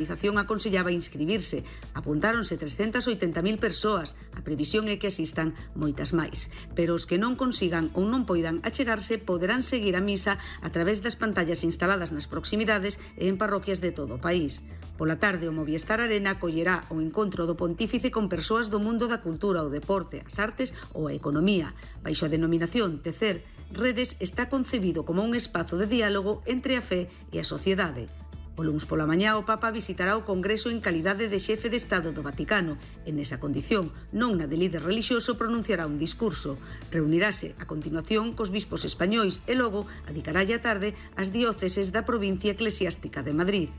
A organización aconsellaba inscribirse. Apuntáronse 380.000 persoas. A previsión é que asistan moitas máis. Pero os que non consigan ou non poidan achegarse poderán seguir a misa a través das pantallas instaladas nas proximidades e en parroquias de todo o país. Pola tarde, o Movistar Arena acollerá o encontro do Pontífice con persoas do mundo da cultura, o deporte, as artes ou a economía. Baixo a denominación Tecer Redes está concebido como un espazo de diálogo entre a fe e a sociedade. O luns pola mañá o Papa visitará o Congreso en calidade de xefe de Estado do Vaticano. En esa condición, non na de líder relixioso, pronunciará un discurso. Reunirase a continuación cos bispos españois e logo adicaralla a tarde ás dióceses da provincia eclesiástica de Madrid.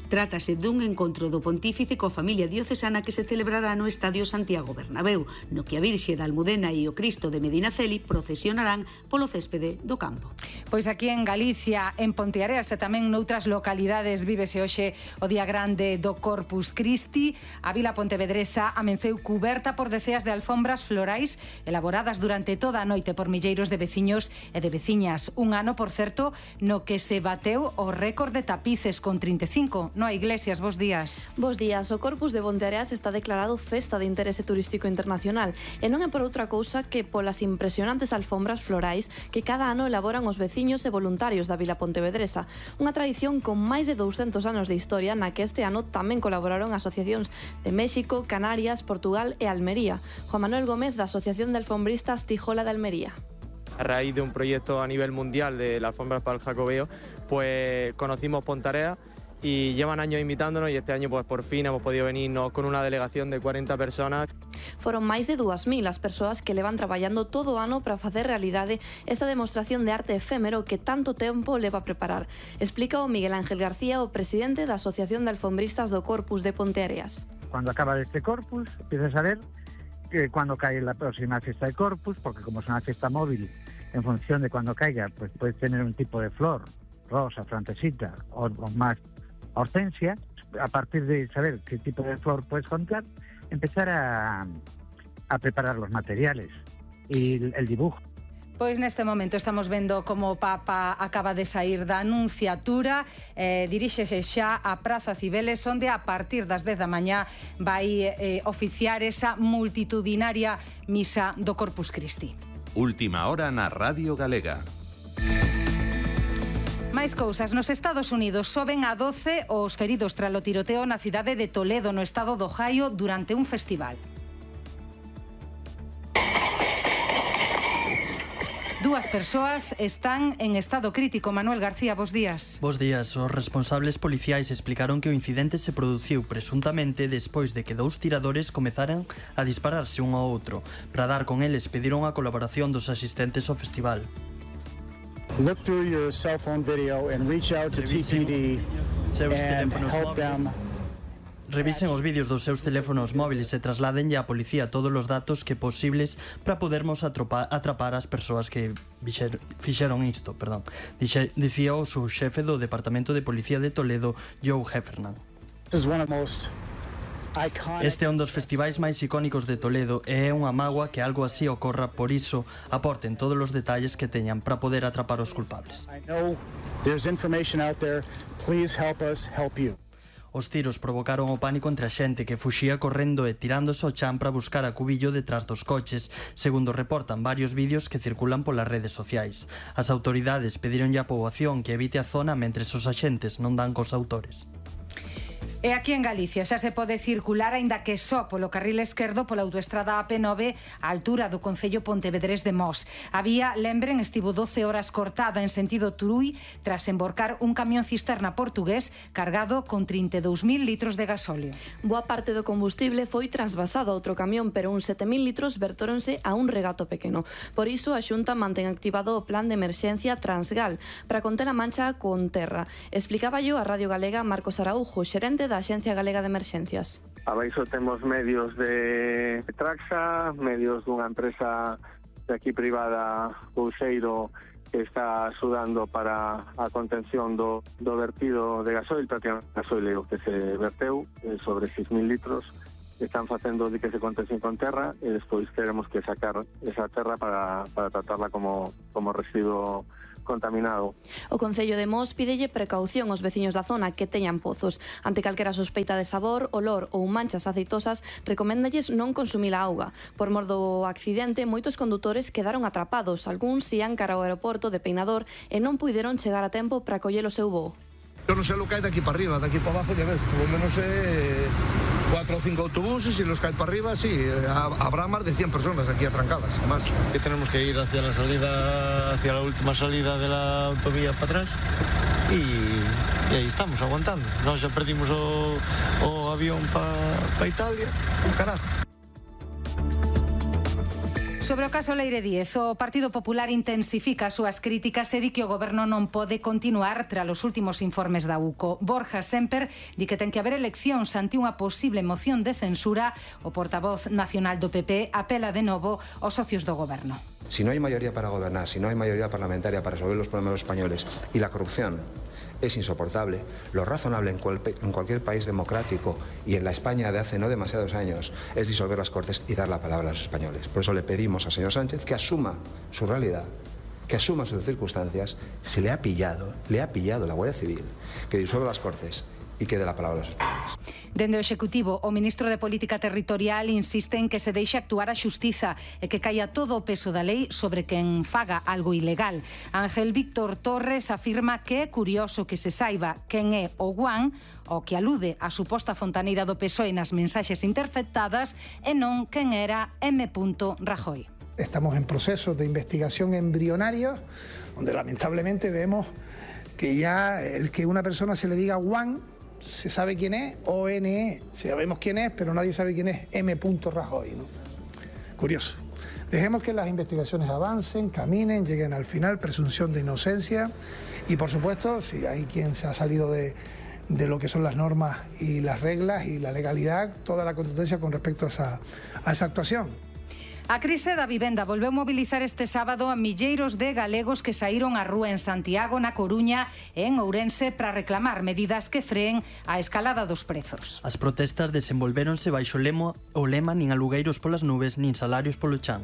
Trátase dun encontro do Pontífice coa familia diocesana que se celebrará no Estadio Santiago Bernabéu, no que a Virxe da Almudena e o Cristo de Medinaceli procesionarán polo céspede do campo. Pois aquí en Galicia, en Ponteareas e tamén noutras localidades vívese hoxe o día grande do Corpus Christi. A vila pontevedresa amenceu cuberta por deceas de alfombras florais elaboradas durante toda a noite por milleiros de veciños e de veciñas. Un ano, por certo, no que se bateu o récord de tapices con 35. Noa Iglesias, bos días. Bos días. O Corpus de Ponteareas está declarado Festa de Interese Turístico Internacional e non é por outra cousa que polas impresionantes alfombras florais que cada ano elaboran os veciños e voluntarios da vila pontevedresa. Unha tradición con máis de 200 anos de historia na que este ano tamén colaboraron asociacións de México, Canarias, Portugal e Almería. Juan Manuel Gómez, da Asociación de Alfombristas Tijola de Almería. A raíz de un proyecto a nivel mundial de la alfombra para el Jacobeo, pues conocimos Ponteareas y llevan años invitándonos y este año pues por fin hemos podido venirnos con una delegación de 40 personas. Foron máis de 2.000 as persoas que levan traballando todo o ano para facer realidade esta demostración de arte efémero que tanto tempo leva a preparar. Explica o Miguel Ángel García, o presidente da Asociación de Alfombristas do Corpus de Ponteareas. Cuando acaba este Corpus, empiezas a ver que cuando cae la próxima fiesta de Corpus, porque como es una fiesta móvil, en función de cuando caiga, pues puedes tener un tipo de flor, rosa, francesita o más hortensia. A partir de saber qué tipo de flor puedes contar, empezar a preparar los materiales y el dibujo. Pois neste momento estamos vendo como o Papa acaba de sair da anunciatura, diríxese xa a Praza Cibeles, onde a partir das 10 da mañá vai oficiar esa multitudinaria misa do Corpus Christi. Última hora na Radio Galega. Máis cousas. Nos Estados Unidos soben a 12 os feridos tras o tiroteo na cidade de Toledo, no estado do Ohio, durante un festival. Dúas persoas están en estado crítico. Manuel García, bos días. Bos días. Os responsables policiais explicaron que o incidente se produciu presuntamente despois de que dous tiradores comezaran a dispararse un ao outro. Para dar con eles pediron a colaboración dos asistentes ao festival. Look through your cell phone video and reach out to TPD and help them. Revisen os vídeos dos seus teléfonos móviles e trasladenlle á policía todos os datos que posibles para podermos atrapar as persoas que fixeron isto, dicía o subxefe do Departamento de Policía de Toledo, Joe Heffernan. Este é un dos festivais máis icónicos de Toledo e é unha mágoa que algo así ocorra, por iso aporten todos os detalles que teñan para poder atrapar os culpables. Os tiros provocaron o pánico entre a xente que fuxía correndo e tirándose ao chan para buscar a cubillo detrás dos coches, segundo reportan varios vídeos que circulan polas redes sociais. As autoridades pedironlle á poboación que evite a zona mentres os axentes non dan cos autores. E aquí en Galicia xa se pode circular, aínda que só polo carril esquerdo, pola autoestrada AP9 á altura do concello pontevedrés de Mos. A vía, lembren, estivo 12 horas cortada en sentido Turuí tras emborcar un camión cisterna portugués cargado con 32.000 litros de gasóleo. Boa parte do combustible foi trasvasado a outro camión, pero uns 7.000 litros vertóronse a un regato pequeno. Por iso, a Xunta mantén activado o plan de emerxencia Transgal para conter a mancha con terra. Explicaba yo a Radio Galega Marcos Araujo, xerente da Axencia Galega de Emerxencias. Abaixo temos medios de Traxa, medios dunha empresa de aquí privada, Couseiro, que está axudando para a contención do vertido de gasoil, prácticamente gasoil que se verteu sobre 6.000 litros. Están facendo de que se contención con terra e despois queremos que sacar esa terra para tratarla como residuo contaminado. O Concello de Mos pídelle precaución aos veciños da zona que teñan pozos. Ante calquera sospeita de sabor, olor ou manchas aceitosas, recoméndalles non consumir a auga. Por mor do accidente, moitos condutores quedaron atrapados. Algúns ían cara ao aeroporto de Peinador e non puideron chegar a tempo para coller o seu voo. Yo no sé lo que hay de aquí para arriba, de aquí para abajo, ya ves, por lo menos 4 o 5 autobuses y los que hay para arriba, sí, habrá más de 100 personas aquí atrancadas, más. Que tenemos que ir hacia la salida, hacia la última salida de la autovía para atrás y ahí estamos, aguantando. Nos ya perdimos o avión para Italia, un carajo. Sobre o caso Leire Díez, o Partido Popular intensifica as súas críticas e di que o goberno non pode continuar tras os últimos informes da UCO. Borja Semper di que ten que haber eleccións ante unha posible moción de censura. O portavoz nacional do PP apela de novo aos socios do goberno. Si no hay mayoría para gobernar, si no hay mayoría parlamentaria para resolver los problemas de los españoles y la corrupción es insoportable, lo razonable en cualquier país democrático y en la España de hace no demasiados años es disolver las Cortes y dar la palabra a los españoles. Por eso le pedimos al señor Sánchez que asuma su realidad, que asuma sus circunstancias. Se le ha pillado la Guardia Civil, que disuelva las Cortes e que dé a palabra aos españoles. Dende o Executivo, o ministro de Política Territorial insiste en que se deixe actuar a xustiza e que caia todo o peso da lei sobre quen faga algo ilegal. Ángel Víctor Torres afirma que é curioso que se saiba quen é o guan, o que alude a suposta fontaneira do PSOE nas mensaxes interceptadas, e non quen era M. Rajoy. Estamos en procesos de investigación embrionarios, donde lamentablemente vemos que ya el que una persona se le diga guan, se sabe quién es, o NE, sabemos quién es, pero nadie sabe quién es M. Rajoy, ¿no? Curioso. Dejemos que las investigaciones avancen, caminen, lleguen al final, presunción de inocencia, y por supuesto, si hay quien se ha salido de lo que son las normas y las reglas y la legalidad, toda la contundencia con respecto a esa actuación. A crise da vivenda volveu mobilizar este sábado a milleiros de galegos que saíron á rúa en Santiago, na Coruña e en Ourense para reclamar medidas que freen a escalada dos prezos. As protestas desenvolvéronse baixo o lema nin alugueiros polas nubes nin salarios polo chan.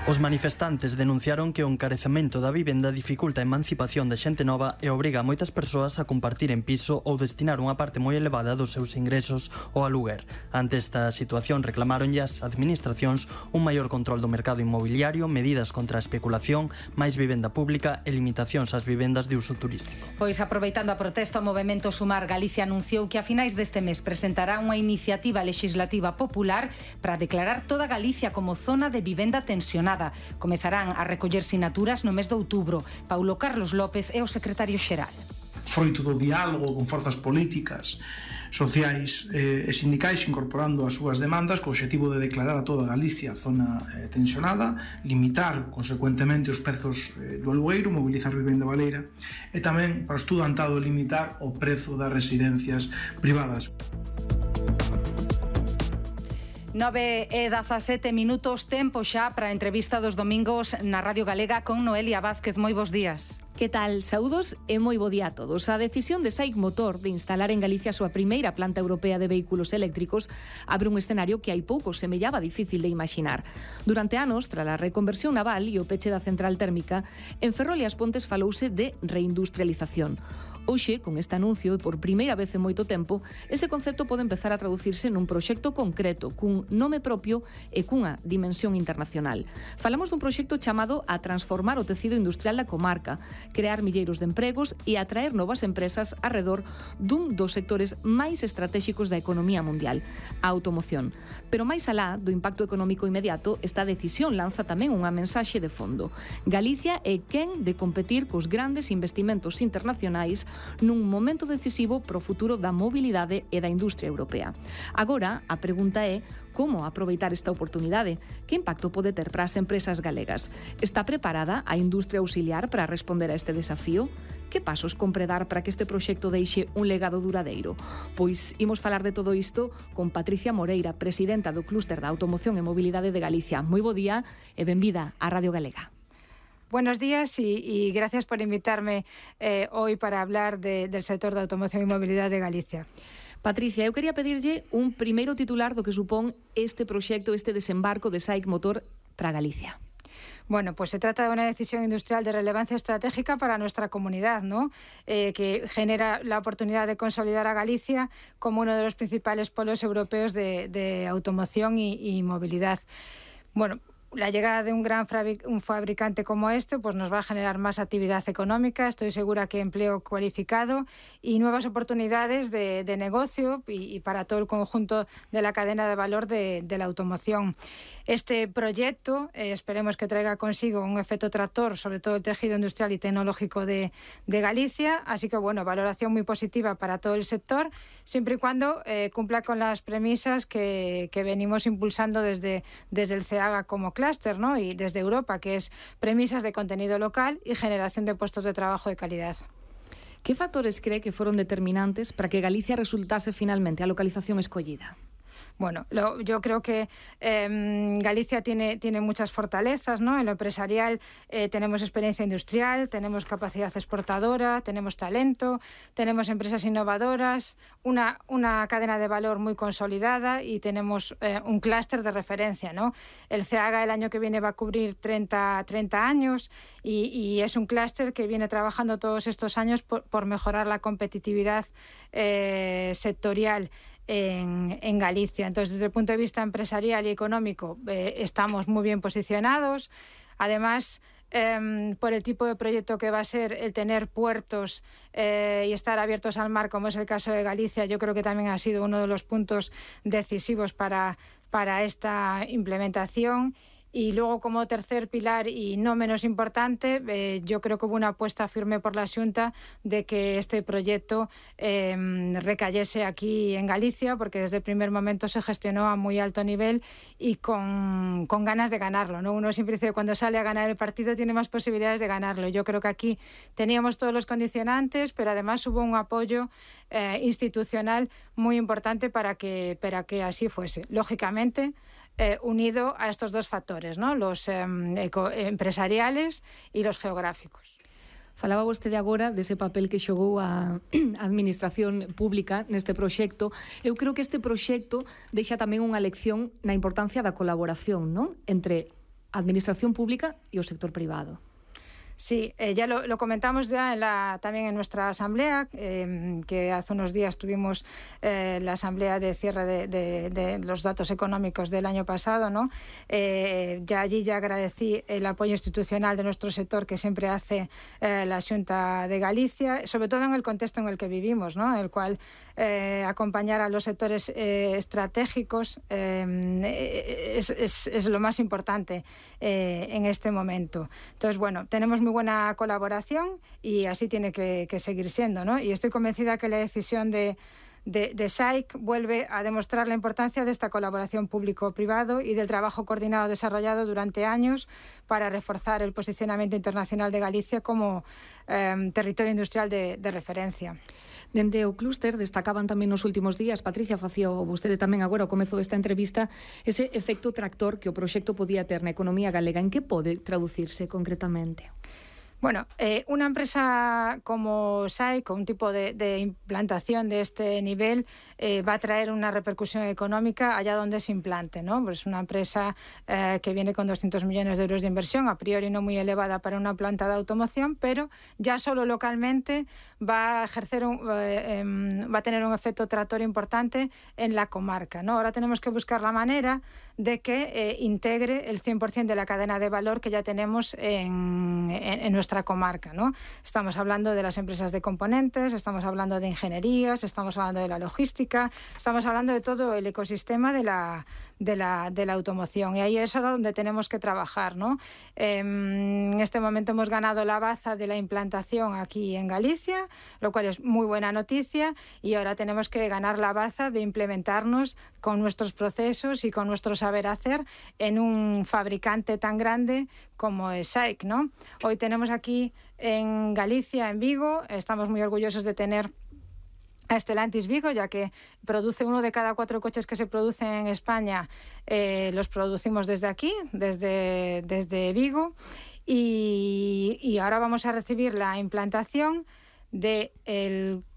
Os manifestantes denunciaron que o encarecemento da vivenda dificulta a emancipación da xente nova e obriga a moitas persoas a compartir en piso ou destinar unha parte moi elevada dos seus ingresos ao aluguer. Ante esta situación reclamaron as administracións un maior control do mercado inmobiliario, medidas contra a especulación, máis vivenda pública e limitacións ás vivendas de uso turístico. Pois aproveitando a protesta, o Movemento Sumar Galicia anunciou que a finais deste mes presentará unha iniciativa legislativa popular para declarar toda Galicia como zona de vivenda tensionada. Comezarán a recoller sinaturas no mes de outubro. Paulo Carlos López é o secretario xeral. Froito do diálogo con forzas políticas, sociais e sindicais incorporando as súas demandas co obxectivo de declarar a toda Galicia zona tensionada, limitar consecuentemente os prezos do alugueiro, mobilizar vivenda baleira e tamén para o estudantado limitar o prezo das residencias privadas. 9:17 minutos, tempo xa para a entrevista dos domingos na Radio Galega con Noelia Vázquez. Moi bons días. Que tal? Saúdos e moi bo día a todos. A decisión de SAIC Motor de instalar en Galicia a súa primeira planta europea de vehículos eléctricos abre un escenario que hai pouco semellaba difícil de imaginar. Durante anos, tras a reconversión naval e o peche da central térmica, en Ferrol e as Pontes falouse de reindustrialización. Hoxe, con este anuncio e por primeira vez en moito tempo, ese concepto pode empezar a traducirse nun proxecto concreto, cun nome propio e cunha dimensión internacional. Falamos dun proxecto chamado a transformar o tecido industrial da comarca, crear milleiros de empregos e atraer novas empresas arredor dun dos sectores máis estratéxicos da economía mundial, a automoción. Pero máis alá do impacto económico inmediato, esta decisión lanza tamén unha mensaxe de fondo. Galicia é quen de competir cos grandes investimentos internacionais nun momento decisivo para o futuro da mobilidade e da industria europea. Agora, a pregunta é como aproveitar esta oportunidade? Que impacto pode ter para as empresas galegas? Está preparada a industria auxiliar para responder a este desafío? Que pasos compre dar para que este proxecto deixe un legado duradeiro? Pois imos falar de todo isto con Patricia Moreira, presidenta do Clúster da Automoción e Mobilidade de Galicia. Moi bo día e benvida á Radio Galega. Buenos días y gracias por invitarme hoy para hablar del sector de automoción y movilidad de Galicia. Patricia, eu quería pedirlle un primeiro titular do que supón este proxecto, este desembarco de SAIC Motor para Galicia. Bueno, pues se trata de una decisión industrial de relevancia estratégica para nuestra comunidad, ¿no? Que genera la oportunidad de consolidar a Galicia como uno de los principales polos europeos de automoción y movilidad. Bueno, la llegada de un fabricante como este pues nos va a generar más actividad económica, estoy segura que empleo cualificado y nuevas oportunidades de negocio y para todo el conjunto de la cadena de valor de la automoción. Este proyecto esperemos que traiga consigo un efecto tractor sobre todo el tejido industrial y tecnológico de Galicia, así que bueno, valoración muy positiva para todo el sector, siempre y cuando cumpla con las premisas que venimos impulsando desde el CEAGA como clúster, ¿no? Y desde Europa, que es premisas de contenido local y generación de puestos de trabajo de calidad. ¿Qué factores cree que fueron determinantes para que Galicia resultase finalmente a localización escollida? Bueno, yo creo que Galicia tiene muchas fortalezas, ¿no? En lo empresarial tenemos experiencia industrial, tenemos capacidad exportadora, tenemos talento, tenemos empresas innovadoras, una cadena de valor muy consolidada y tenemos un clúster de referencia, ¿no? El CEAGA el año que viene va a cubrir 30 años y es un clúster que viene trabajando todos estos años por mejorar la competitividad sectorial en Galicia. Entonces, desde el punto de vista empresarial y económico, estamos muy bien posicionados. Además, por el tipo de proyecto que va a ser el tener puertos y estar abiertos al mar, como es el caso de Galicia, yo creo que también ha sido uno de los puntos decisivos para esta implementación. Y luego, como tercer pilar y no menos importante, yo creo que hubo una apuesta firme por la Xunta de que este proyecto recayese aquí en Galicia, porque desde el primer momento se gestionó a muy alto nivel y con ganas de ganarlo, ¿no? Uno siempre dice que cuando sale a ganar el partido tiene más posibilidades de ganarlo. Yo creo que aquí teníamos todos los condicionantes, pero además hubo un apoyo institucional muy importante para que así fuese. Lógicamente, unido a estos dos factores, ¿no? Los empresariales e los geográficos. Falaba vostede agora dese papel que xogou a administración pública neste proxecto. Eu creo que este proxecto deixa tamén unha lección na importancia da colaboración, ¿no? Entre a administración pública e o sector privado. Sí, ya lo comentamos ya también en nuestra asamblea, que hace unos días tuvimos la asamblea de cierre de los datos económicos del año pasado, ¿no? Ya allí agradecí el apoyo institucional de nuestro sector que siempre hace la Xunta de Galicia, sobre todo en el contexto en el que vivimos, ¿no? En el cual acompañar a los sectores estratégicos es lo más importante en este momento. Entonces, bueno, tenemos muy buena colaboración y así tiene que seguir siendo, ¿no? Y estoy convencida que la decisión de SAIC vuelve a demostrar la importancia de esta colaboración público-privado y del trabajo coordinado desarrollado durante años para reforzar el posicionamiento internacional de Galicia como territorio industrial de referencia. Dende o clúster destacaban tamén nos últimos días, Patricia, facía vostede tamén agora ao comezo desta entrevista, ese efecto tractor que o proxecto podía ter na economía galega. En que pode traducirse concretamente? Bueno, una empresa como SAIC, con un tipo de implantación de este nivel, va a traer una repercusión económica allá donde se implante, ¿no? Pues una empresa que viene con 200 millones de euros de inversión, a priori no muy elevada para una planta de automoción, pero ya solo localmente va a ejercer va a tener un efecto tractor importante en la comarca, ¿no? Ahora tenemos que buscar la manera de que integre el 100% de la cadena de valor que ya tenemos en nuestra comarca, ¿no? Estamos hablando de las empresas de componentes, estamos hablando de ingenierías, estamos hablando de la logística, estamos hablando de todo el ecosistema de la automoción, y ahí es ahora donde tenemos que trabajar, ¿no? En este momento hemos ganado la baza de la implantación aquí en Galicia, lo cual es muy buena noticia, y ahora tenemos que ganar la baza de implementarnos con nuestros procesos y con nuestro saber hacer en un fabricante tan grande como es SAIC, ¿no? Hoy tenemos aquí en Galicia, en Vigo, estamos muy orgullosos de tener a Stellantis Vigo, ya que produce 1 de cada 4 coches que se producen en España, los producimos desde aquí, desde Vigo, y ahora vamos a recibir la implantación de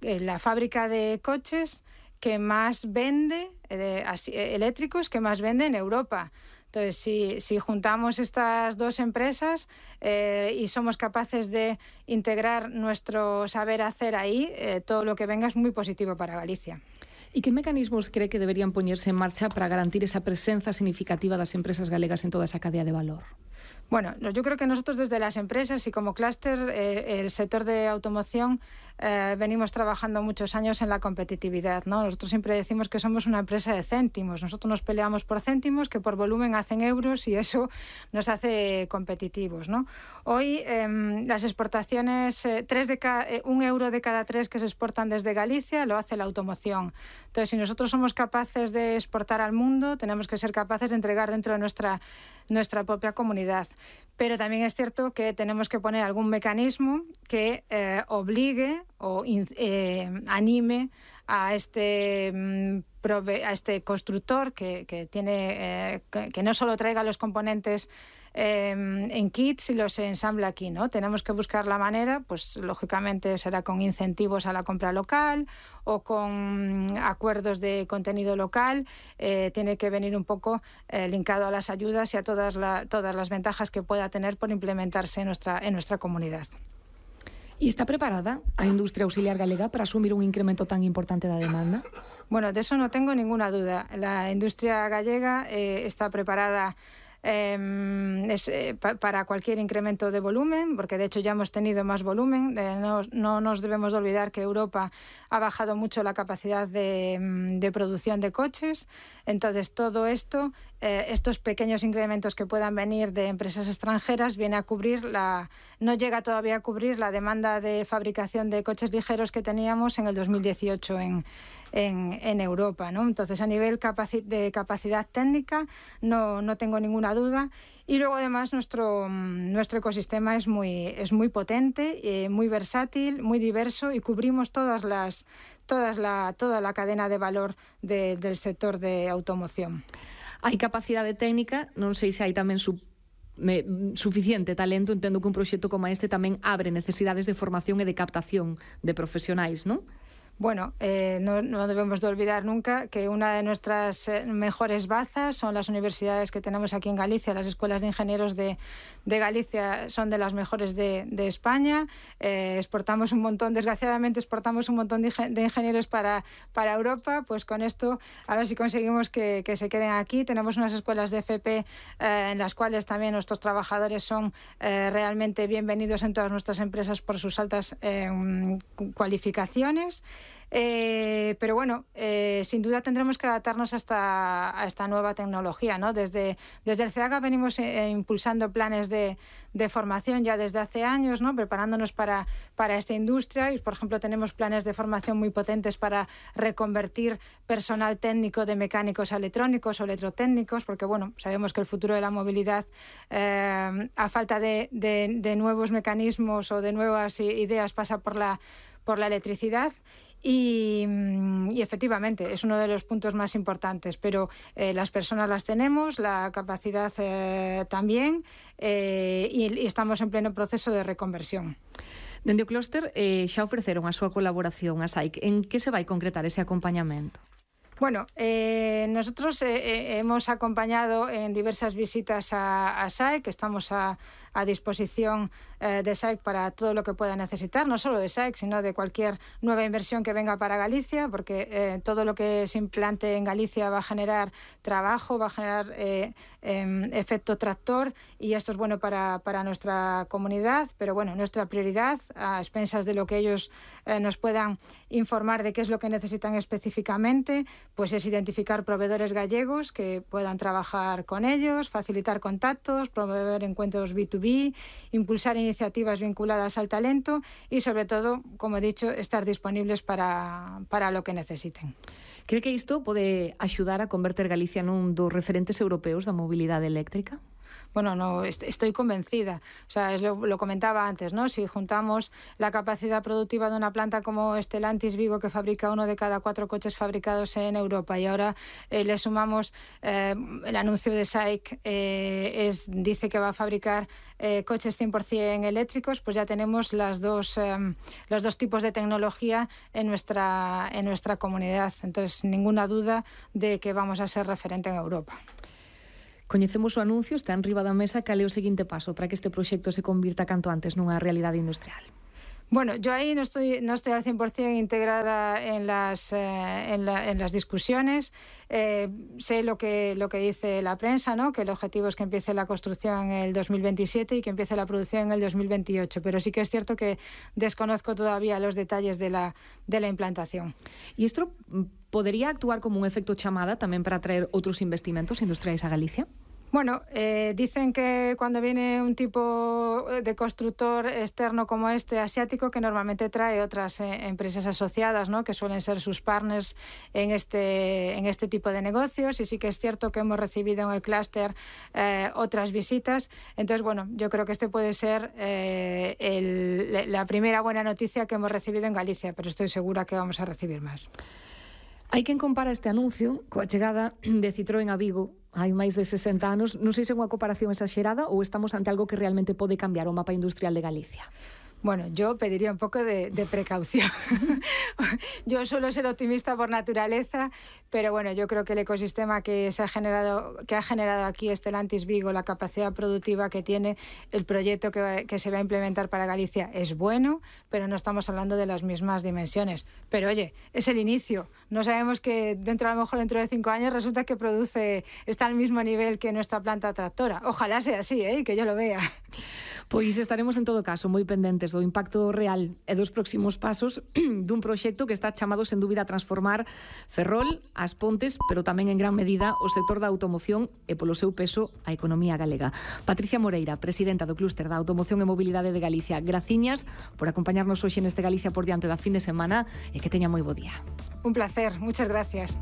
la fábrica de coches que más vende, eléctricos, que más vende en Europa. Entonces, si juntamos estas dos empresas y somos capaces de integrar nuestro saber hacer ahí, todo lo que venga es muy positivo para Galicia. ¿Y qué mecanismos cree que deberían poñerse en marcha para garantir esa presenza significativa das empresas galegas en toda esa cadea de valor? Bueno, yo creo que nosotros desde las empresas y como clúster, el sector de automoción, venimos trabajando muchos años en la competitividad, ¿no? Nosotros siempre decimos que somos una empresa de céntimos. Nosotros nos peleamos por céntimos, que por volumen hacen euros y eso nos hace competitivos, ¿no? Hoy las exportaciones, 1 euro de cada 3 que se exportan desde Galicia lo hace la automoción. Entonces, si nosotros somos capaces de exportar al mundo, tenemos que ser capaces de entregar dentro de nuestra propia comunidad. Pero también es cierto que tenemos que poner algún mecanismo que obligue o anime a este constructor que no solo traiga los componentes en kits y los ensambla aquí, ¿no? Tenemos que buscar la manera, pues lógicamente será con incentivos a la compra local o con acuerdos de contenido local, tiene que venir un poco linkado a las ayudas y a todas las ventajas que pueda tener por implementarse en nuestra comunidad. ¿Y está preparada a industria auxiliar galega para asumir un incremento tan importante da demanda? Bueno, de eso no tengo ninguna duda. La industria gallega está preparada para cualquier incremento de volumen, porque de hecho ya hemos tenido más volumen. No nos debemos de olvidar que Europa ha bajado mucho la capacidad de producción de coches. Entonces todo esto, estos pequeños incrementos que puedan venir de empresas extranjeras, viene a cubrir no llega todavía a cubrir la demanda de fabricación de coches ligeros que teníamos en el 2018 en Europa, ¿no? Entonces, a nivel de capacidad técnica no tengo ninguna duda. Y luego, además, nuestro ecosistema es muy potente, muy versátil, muy diverso y cubrimos toda la cadena de valor del sector de automoción. Hai capacidade técnica, non sei se hai tamén suficiente talento. Entendo que un proxecto como este tamén abre necesidades de formación e de captación de profesionais, ¿non? Bueno, no debemos de olvidar nunca que una de nuestras mejores bazas son las universidades que tenemos aquí en Galicia. Las escuelas de ingenieros de Galicia son de las mejores de España. Exportamos un montón, desgraciadamente exportamos un montón de ingenieros para Europa. Pues con esto a ver si conseguimos que se queden aquí. Tenemos unas escuelas de FP en las cuales también nuestros trabajadores son realmente bienvenidos en todas nuestras empresas por sus altas cualificaciones. Pero bueno, sin duda tendremos que adaptarnos a esta nueva tecnología, ¿no? Desde el CEAGA venimos impulsando planes de formación ya desde hace años, ¿no? Preparándonos para esta industria y, por ejemplo, tenemos planes de formación muy potentes para reconvertir personal técnico de mecánicos a electrónicos o electrotécnicos, porque bueno, sabemos que el futuro de la movilidad, a falta de nuevos mecanismos o de nuevas ideas, pasa por la electricidad. Y efectivamente es uno de los puntos más importantes, pero las personas las tenemos, la capacidad también, y estamos en pleno proceso de reconversión. Dende o clúster xa ofreceron a súa colaboración a SAIC. En que se vai concretar ese acompañamento? Bueno, nosotros hemos acompañado en diversas visitas a SAIC, estamos a disposición de SAIC para todo lo que pueda necesitar, no solo de SAIC, sino de cualquier nueva inversión que venga para Galicia, porque todo lo que se implante en Galicia va a generar trabajo, va a generar efecto tractor, y esto es bueno para nuestra comunidad, pero bueno, nuestra prioridad, a expensas de lo que ellos nos puedan informar de qué es lo que necesitan específicamente, pues es identificar proveedores gallegos que puedan trabajar con ellos, facilitar contactos, promover encuentros B2B, impulsar iniciativas vinculadas al talento y, sobre todo, como he dicho, estar disponibles para lo que necesiten. Cree que isto pode axudar a converter Galicia nun dos referentes europeos da mobilidade eléctrica? Bueno, no, estoy convencida. O sea, lo comentaba antes, ¿no? Si juntamos la capacidad productiva de una planta como Stellantis Vigo, que fabrica 1 de cada 4 coches fabricados en Europa, y ahora le sumamos el anuncio de SAIC, dice que va a fabricar coches 100% eléctricos, pues ya tenemos los dos tipos de tecnología en nuestra comunidad. Entonces, ninguna duda de que vamos a ser referente en Europa. Coñecemos o anuncio, está en riba da mesa, cal é o seguinte paso para que este proxecto se convirta canto antes nunha realidade industrial? Bueno, yo ahí no estoy al 100% integrada en las discusiones. Sé lo que dice la prensa, ¿no? Que el objetivo es que empiece la construcción en el 2027 y que empiece la producción en el 2028. Pero sí que es cierto que desconozco todavía los detalles de la implantación. ¿Y esto podría actuar como un efecto chamada también para atraer otros investimentos industriales a Galicia? Bueno, dicen que cuando viene un tipo de constructor externo como este, asiático, que normalmente trae otras empresas asociadas, ¿no? Que suelen ser sus partners en este tipo de negocios, y sí que es cierto que hemos recibido en el clúster otras visitas. Entonces, bueno, yo creo que este puede ser la primera buena noticia que hemos recibido en Galicia, pero estoy segura que vamos a recibir más. Hai quen compara este anuncio coa chegada de Citroën a Vigo hai máis de 60 anos. Non sei se é unha comparación exagerada ou estamos ante algo que realmente pode cambiar o mapa industrial de Galicia. Bueno, yo pediría un poco de precaución. Yo suelo ser optimista por naturaleza, pero bueno, yo creo que el ecosistema que ha generado aquí Stellantis Vigo, la capacidad productiva que tiene, el proyecto que se va a implementar para Galicia es bueno, pero no estamos hablando de las mismas dimensiones. Pero oye, es el inicio. No sabemos que a lo mejor dentro de 5 años resulta que está al mismo nivel que nuestra planta tractora. Ojalá sea así, que yo lo vea. Pois estaremos en todo caso moi pendentes do impacto real e dos próximos pasos dun proxecto que está chamado sen dúbida a transformar Ferrol, As Pontes, pero tamén en gran medida o sector da automoción e polo seu peso a economía galega. Patricia Moreira, presidenta do Clúster da Automoción e Mobilidade de Galicia, graciñas por acompañarnos hoxe neste Galicia por diante da fin de semana e que teña moi bo día. Un placer, muchas gracias.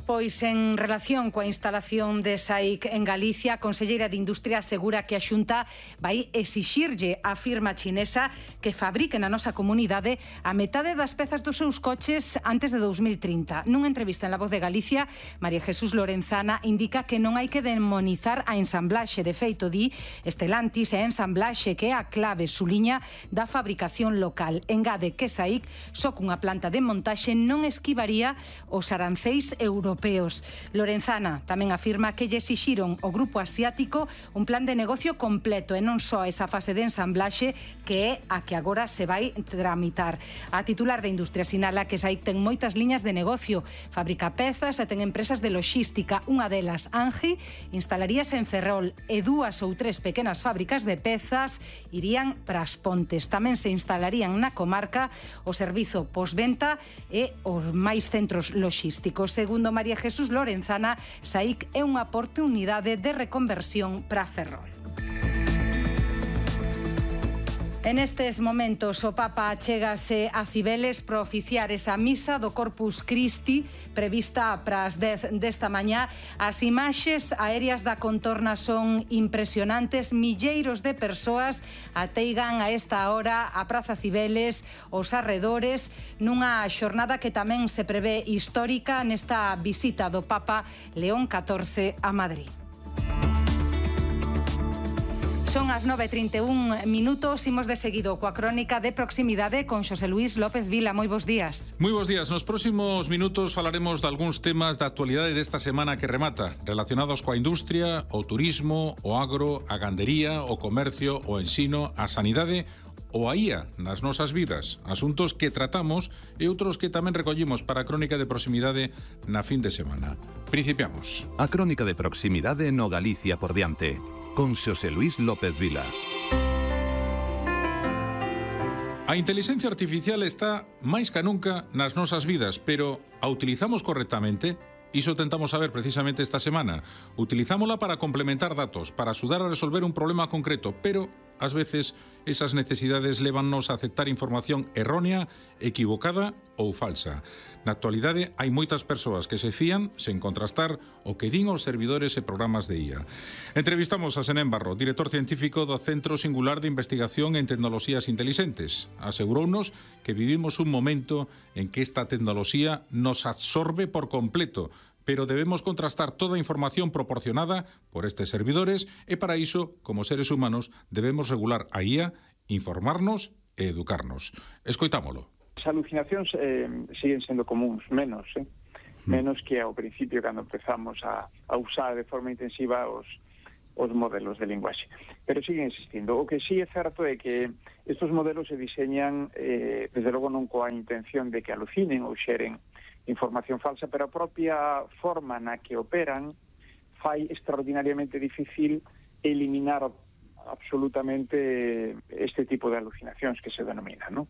Pois en relación coa instalación de SAIC en Galicia, a conselleira de Industria asegura que a Xunta vai exixirlle á firma chinesa que fabrique na nosa comunidade a metade das pezas dos seus coches antes de 2030. Nunha entrevista en La Voz de Galicia, María Jesús Lorenzana indica que non hai que demonizar a ensamblaxe. De feito, di Stellantis é a ensamblaxe que é a clave, suliña, da fabricación local. Engade que SAIC, só cunha planta de montaxe, non esquivaría os aranceis europeos. Lorenzana tamén afirma que lle exixiron ao grupo asiático un plan de negocio completo e non só esa fase de ensamblaxe que é a que agora se vai tramitar. A titular de Industria sinala que SAIC ten moitas liñas de negocio, fabrica pezas e ten empresas de logística. Unha delas, Angi, instalaríase en Ferrol e 2 ou 3 pequenas fábricas de pezas irían para As Pontes. Tamén se instalarían na comarca o servizo postventa e os máis centros logísticos. Segundo María Jesús Lorenzana, SAIC é unha oportunidade de reconversión para Ferrol. En estes momentos o Papa chégase a Cibeles para oficiar esa misa do Corpus Christi prevista para as 10 desta mañá. As imaxes aéreas da contorna son impresionantes. Milleiros de persoas ateigan a esta hora a Praza Cibeles, os arredores, nunha xornada que tamén se prevé histórica nesta visita do Papa León XIV a Madrid. Son as 9:31 minutos, imos de seguido coa crónica de proximidade con Xosé Luís López Vila. Moi bons días. Moi bons días. Nos próximos minutos falaremos de algúns temas da actualidade desta semana que remata, relacionados coa industria, o turismo, o agro, a gandería, o comercio, o ensino, a sanidade ou a IA nas nosas vidas, asuntos que tratamos e outros que tamén recollimos para a crónica de proximidade na fin de semana. Principiamos. A crónica de proximidade no Galicia por diante, con Xosé Luís López Vila. A inteligencia artificial está máis ca nunca nas nosas vidas, pero a utilizamos correctamente? Iso tentamos saber precisamente esta semana. Utilizámola para complementar datos, para axudar a resolver un problema concreto, pero ás veces esas necesidades lévannos a aceptar información errónea, equivocada ou falsa. Na actualidade hai moitas persoas que se fían sen contrastar o que din os servidores e programas de IA. Entrevistamos a Senén Barro, director científico do Centro Singular de Investigación en Tecnoloxías Inteligentes. Asegurounos que vivimos un momento en que esta tecnoloxía nos absorbe por completo, pero debemos contrastar toda a información proporcionada por estes servidores e para iso, como seres humanos, debemos regular a IA, informarnos e educarnos. Escoitámolo. As alucinacións siguen sendo comuns, menos, menos que ao principio cando empezamos a usar de forma intensiva os modelos de linguaxe. Pero siguen existindo. O que sí é certo é que estes modelos se diseñan, desde logo non coa intención de que alucinen ou xeren información falsa, pero a propia forma na que operan fai extraordinariamente difícil eliminar absolutamente este tipo de alucinacións que se denominan, non?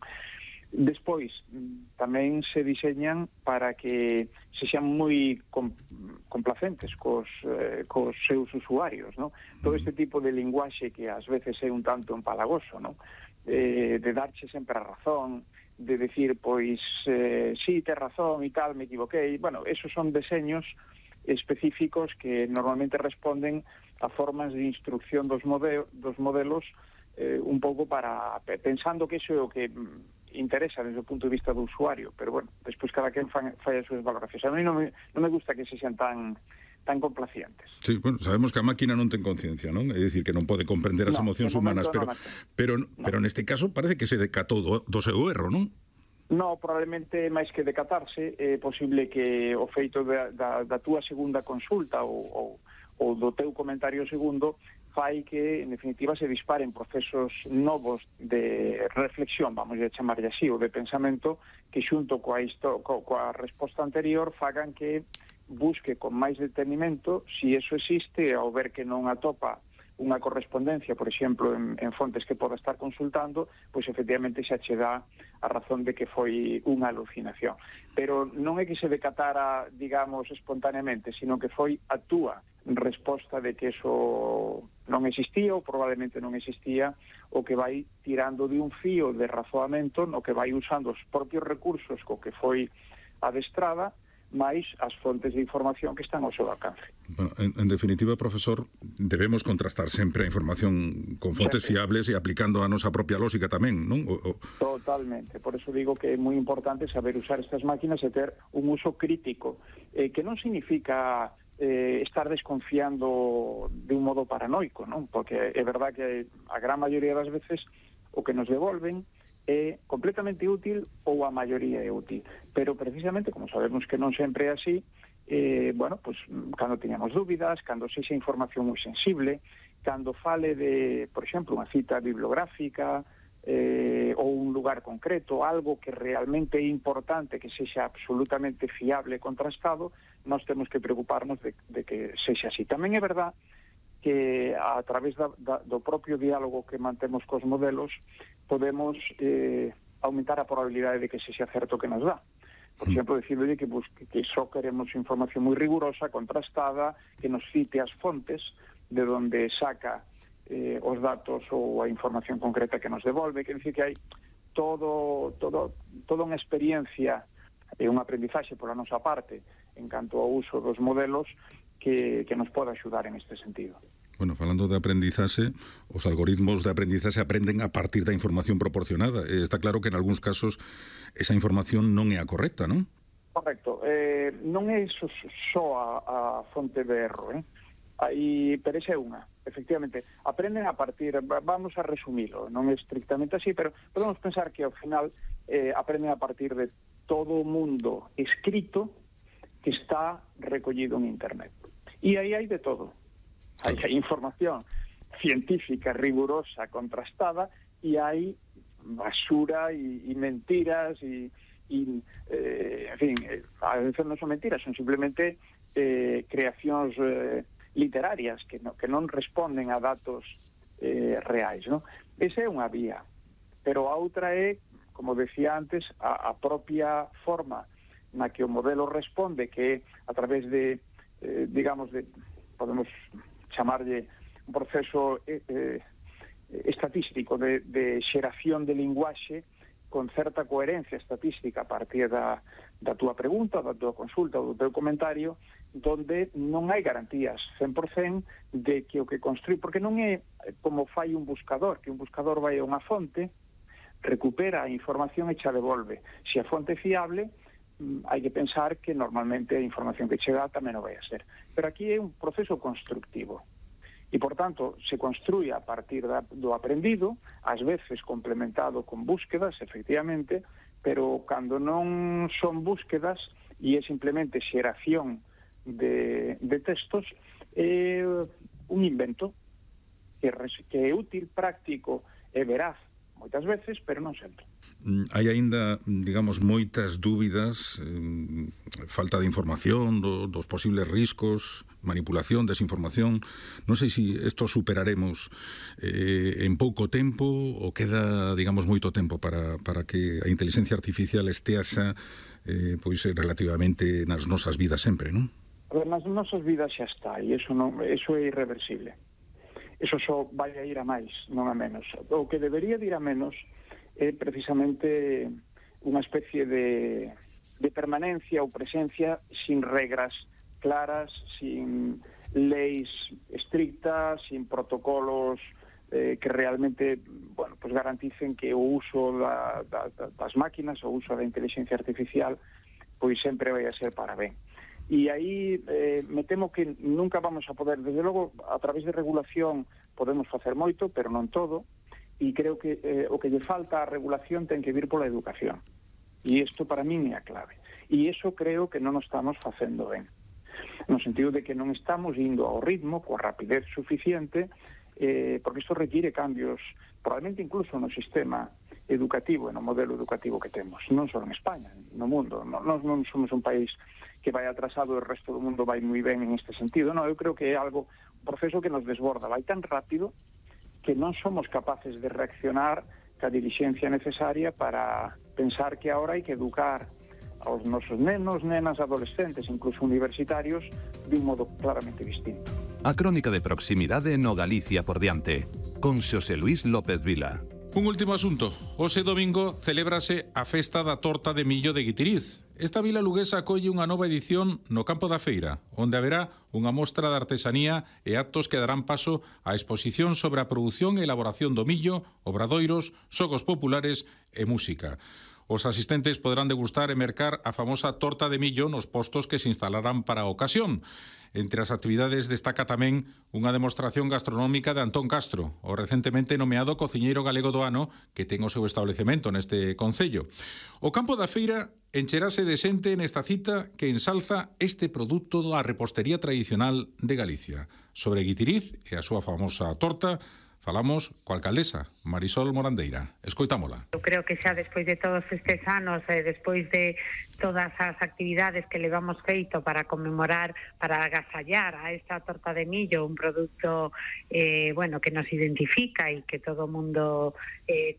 Despois, tamén se diseñan para que se xan moi complacentes cos seus usuarios, non? Todo este tipo de linguaxe que ás veces é un tanto empalagoso, non? De darche sempre a razón, de decir, pois, sí, tes razón e tal, me equivoquei. Bueno, esos son deseños específicos que normalmente responden a formas de instrucción dos modelos un pouco para pensando que iso é o que interesa desde o punto de vista do usuario, pero bueno, despois cada quen fai as súas valoracións. A mí non me gusta que se sean tan complacientes. Sí, bueno, sabemos que a máquina non ten conciencia, non? É dicir, que non pode comprender as emocións humanas, pero neste caso parece que se decatou do seu erro, non? No, probablemente máis que decatarse, é posible que o feito da túa segunda consulta ou do teu comentario segundo fai que, en definitiva, se disparen procesos novos de reflexión, vamos a chamarlle así, ou de pensamento, que xunto coa resposta anterior fagan que busque con máis detenimento si eso existe, ao ver que non atopa unha correspondencia, por exemplo, en fontes que poda estar consultando, pois efectivamente xa che dá a razón de que foi unha alucinación. Pero non é que se decatara, digamos, espontaneamente, sino que foi a túa resposta de que eso non existía ou probablemente non existía, o que vai tirando de un fío de razoamento no que vai usando os propios recursos co que foi adestrada, máis as fontes de información que están ao seu alcance. Bueno, en definitiva, profesor, debemos contrastar sempre a información con fontes fiables e aplicando a nosa propia lógica tamén, non? Totalmente. Por eso digo que é moi importante saber usar estas máquinas e ter un uso crítico, que non significa estar desconfiando de un modo paranoico, non? Porque é verdad que a gran maioría das veces o que nos devolven é completamente útil ou a maioría é útil, pero precisamente, como sabemos que non sempre é así, bueno, pues cando teñamos dúbidas, cando sexa información moi sensible, cando fale de, por exemplo, unha cita bibliográfica ou un lugar concreto, algo que realmente é importante, que sexa absolutamente fiable e contrastado, nós temos que preocuparnos de que sexa así. Tamén é verdad que a través do propio diálogo que mantemos cos modelos podemos aumentar a probabilidade de que sexa certo que nos dá. Por exemplo, decirle que só queremos información moi rigurosa, contrastada, que nos cite as fontes de onde saca os datos ou a información concreta que nos devolve. Quer dizer que hai toda unha experiencia e un aprendizaxe pola nosa parte en canto ao uso dos modelos que nos pode axudar en este sentido. Bueno, falando de aprendizaxe, os algoritmos de aprendizaxe aprenden a partir da información proporcionada. Está claro que en algúns casos esa información non é a correcta, non? Correcto. Non é só a fonte de erro, pero esa é unha. Efectivamente, aprenden a partir, vamos a resumilo, non é estrictamente así, pero podemos pensar que ao final aprenden a partir de todo o mundo escrito que está recollido en Internet. E aí hai de todo. Hai información científica, rigurosa, contrastada, e hai basura e mentiras e en fin, a veces non son mentiras, son simplemente creacións literarias que non responden a datos reais, non? Esa é unha vía, pero a outra é, como decía antes, a propia forma na que o modelo responde, que é a través de, digamos, podemos chamarlle un proceso estatístico de xeración de linguaxe con certa coherencia estatística a partir da túa pregunta, da túa consulta ou do teu comentario, donde non hai garantías 100% de que o que construí, porque non é como fai un buscador, que un buscador vai a unha fonte, recupera a información e xa devolve. Se a fonte é fiable, hai que pensar que normalmente a información que chega tamén o vai a ser. Pero aquí é un proceso constructivo. E, por tanto, se construye a partir do aprendido, ás veces complementado con búsquedas, efectivamente, pero cando non son búsquedas e é simplemente xeración de textos, é un invento que é útil, práctico e veraz moitas veces, pero non sempre. Hai aínda, digamos, moitas dúbidas, falta de información dos posibles riscos, manipulación, desinformación. Non sei se isto superaremos en pouco tempo ou queda, digamos, moito tempo para que a inteligencia artificial esteasa pois relativamente nas nosas vidas sempre, non? A ver, nas nosas vidas xa está, e eso é irreversible. Eso só vai a ir a máis, non a menos. O que debería de ir a menos é precisamente unha especie de permanencia ou presencia sin regras claras, sin leis estrictas, sin protocolos que realmente, bueno, pues garanticen que o uso das máquinas, o uso da inteligencia artificial, pois sempre vai a ser para ben. E aí me temo que nunca vamos a poder, desde logo, a través de regulación podemos facer moito, pero non todo, e creo que o que lle falta á regulación ten que vir pola educación. E isto para min é a clave. E iso creo que non o estamos facendo ben. No sentido de que non estamos indo ao ritmo, coa rapidez suficiente, porque isto require cambios, probablemente incluso no sistema educativo e no modelo educativo que temos, non só en España, no mundo. Nós non somos un país que vai atrasado e o resto do mundo vai moi ben en este sentido. Non, eu creo que é algo, un proceso que nos desborda, vai tan rápido que non somos capaces de reaccionar ca diligencia necesaria para pensar que ahora hai que educar aos nosos nenos, nenas, adolescentes, incluso universitarios, de un modo claramente distinto. A crónica de proximidade no Galicia por diante, con Xosé Luís López Vila. Un último asunto. Hoxe domingo celébrase a festa da torta de millo de Guitiriz. Esta vila luguesa acolle unha nova edición no Campo da Feira, onde haberá unha mostra de artesanía e actos que darán paso á exposición sobre a produción e elaboración do millo, obradoiros, xogos populares e música. Os asistentes poderán degustar e mercar a famosa torta de millo nos postos que se instalarán para a ocasión. Entre as actividades destaca tamén unha demostración gastronómica de Antón Castro, o recentemente nomeado cociñeiro galego do ano que ten o seu establecemento neste concello. O Campo da Feira encherase de xente nesta cita que ensalza este produto da repostería tradicional de Galicia. Sobre Guitiriz e a súa famosa torta, falamos coa alcaldesa, Marisol Morandeira. Escoitámola. Eu creo que xa despois de todos estes anos, despois de todas as actividades que levamos feito para conmemorar, para agasallar a esta torta de millo, un produto bueno, que nos identifica e que todo o mundo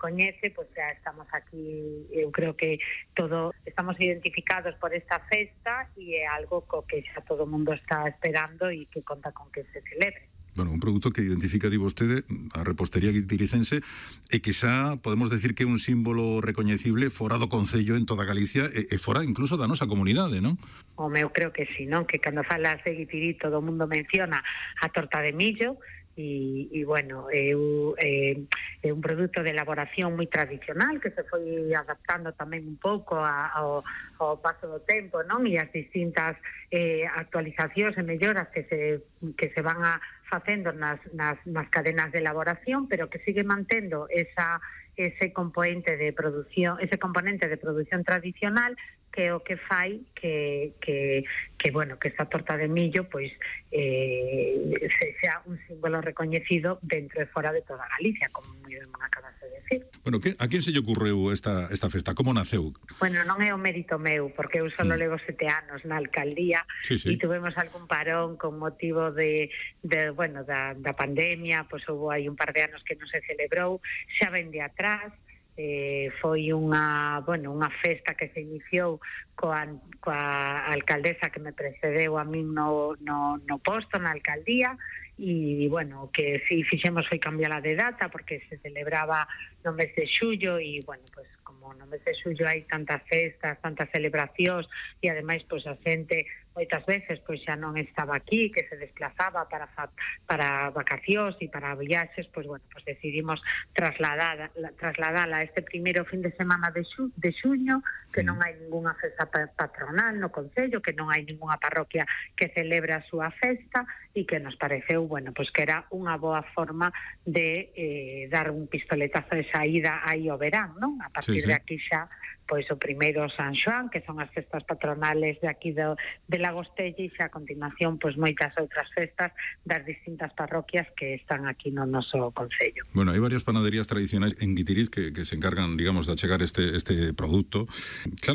coñece, pues xa estamos aquí, eu creo que todo estamos identificados por esta festa e é algo co que xa todo o mundo está esperando e que conta con que se celebre. Bueno, un produto que identifica, di vostede, a repostería guitiricense e que xa podemos decir que é un símbolo recoñecible fora do Concello en toda Galicia e fora incluso da nosa comunidade, non? Home, eu creo que sí, non? Que cando falas de Guitiri todo o mundo menciona a torta de millo e bueno, é un produto de elaboración moi tradicional que se foi adaptando tamén un pouco ao paso do tempo, non? E as distintas actualizacións e melloras que se van a facendo nas cadenas de elaboración, pero que sigue mantendo ese componente de produción tradicional, que é o que fai que bueno, que esta torta de millo pois sea un símbolo recoñecido dentro e fora de toda Galicia, como moi ben acabas de decir. Bueno, a quen se lle ocurreu esta festa? Como naceu? Bueno, non é o mérito meu, porque eu só levo 7 anos na alcaldía e tuvemos algún parón con motivo da pandemia, pois houve aí un par de anos que non se celebrou, xa ven de atrás. Foi unha festa que se iniciou coa alcaldesa que me precedeu a min no posto na alcaldía e, bueno, que si fixemos foi cambiala de data porque se celebraba no mes de xullo e, bueno, pues como no mes de xullo hai tantas festas, tantas celebracións e ademais pois a xente moitas veces pois xa non estaba aquí, que se desplazaba para vacacións e para viaxes, pois bueno, pois decidimos trasladala a este primeiro fin de semana de xuño, que non hai ningunha festa patronal no concello, que non hai ningunha parroquia que celebre a súa festa e que nos pareceu, bueno, pois que era unha boa forma de dar un pistoletazo de saída aí ao verán, non? A partir de aquí xa pois o primeiro San Xoán, que son as festas patronales de aquí de Lagostella, e xa a continuación pois moitas outras festas das distintas parroquias que están aquí no noso concello. Bueno, hai varias panaderías tradicionais en Guitiriz que se encargan, digamos, de achegar este produto. Claro,